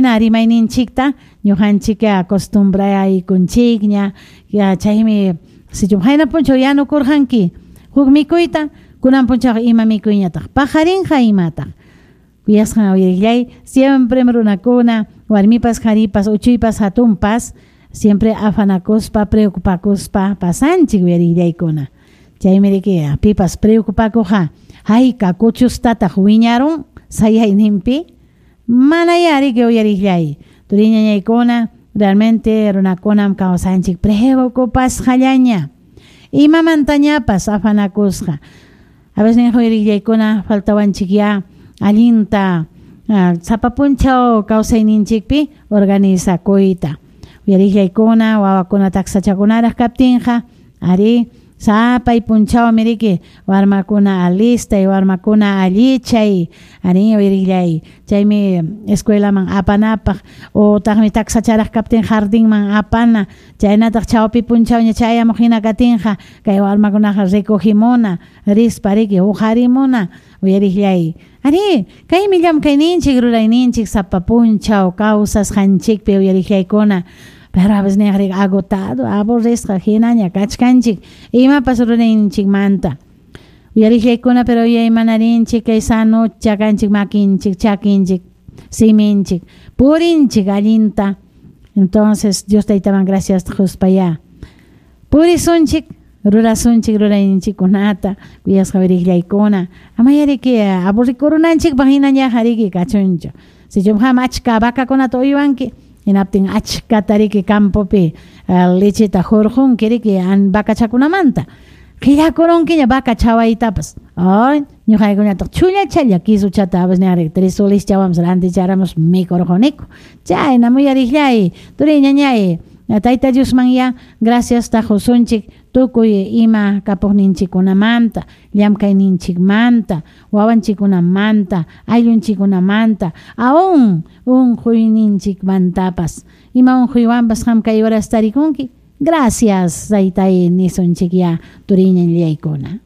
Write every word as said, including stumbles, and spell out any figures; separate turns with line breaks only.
Hina rimayninchikta ñuqanchik acostumbraykunchikña, ya chaymi sichum qayna punchaw yanukurqanki huk mikuyta, kunan punchaw ima mikuyñataq paqarinqa imataq. Kuyasqan uyariqllay, siempre runakuna, warmipas, qharipas, uchuypas, hatunpas, siempre afanakuspa, preocupakuspa pasanchik uyariqllaykuna. Chaymi riki pipas preocupakuqa, hayka kuchustataq wiñarun sayayninpi, manaya riki uyariqllay. Turiñañaykuna, realmente runakunam kawsanchik preocupasqallaña. Imamantañapas afanakusqa. A veces nin uyariqllaykuna faltawanchik ya allinta uh, sapa punchaw kawsayninchikpi organizakuyta. Uyariqllaykuna, wawakuna taksachakunaraq kaptinqa, ari sapay punchawmi riki warmakuna alistay, warmakuna allichay, ari uyariqllay. Chaymi escuelaman apanapaq utaqmi taksacharaq kaptin jardinman apana, chaynataq chawpi punchawña chayamuq hina katinqa kay warmakunaqa recogimuna, rispa riki uqarimuna, uyariqllay. Ari, kaymi llamkayninchik, rurayninchik sapa punchaw kawsasqanchikpi uyariqllaykuna. Pero a veces niyaq agotado, aburrisqa hinaña kachkanchik imapas rurayninchikmanta. Uyariqllaykuna, pero yuyaymanarninchik kay sanucha kanchik makinchik, chakinchik, siminchik, purinchik allinta. Entonces, Dios taytaman gracias quspaya. Purisunchik, rurasunchik rurayninchikkunata, kuyasqa uyariqllaykuna. Amaya riki aburrikurunanchikpaq hinañaqa riki kachunchu. Sichum qam achka vacakunata uywanki, hinaptin achkata riki campopi uh, lecheta hurqunki riki vacachakunamanta. Qillakurunkiña vaca chawaytapas. Ay, ñuqaykunataq chullachalla kisuchata a veces tres soles chawamos ranticharamus mikurquniku. Chayna uyariqllay, turiñañay, Tayta Diosman ya gracias taqusunchik tukuy ima kapuqninchikkunamanta, llamkayninchikmanta, wawanchikkunamanta, ayllunchikkunamanta, aún unquyninchikmantapas. Ima unquywanpas qam kay horas tarikunki. Gracias, taytay nisunchik ya turiñañaykuna.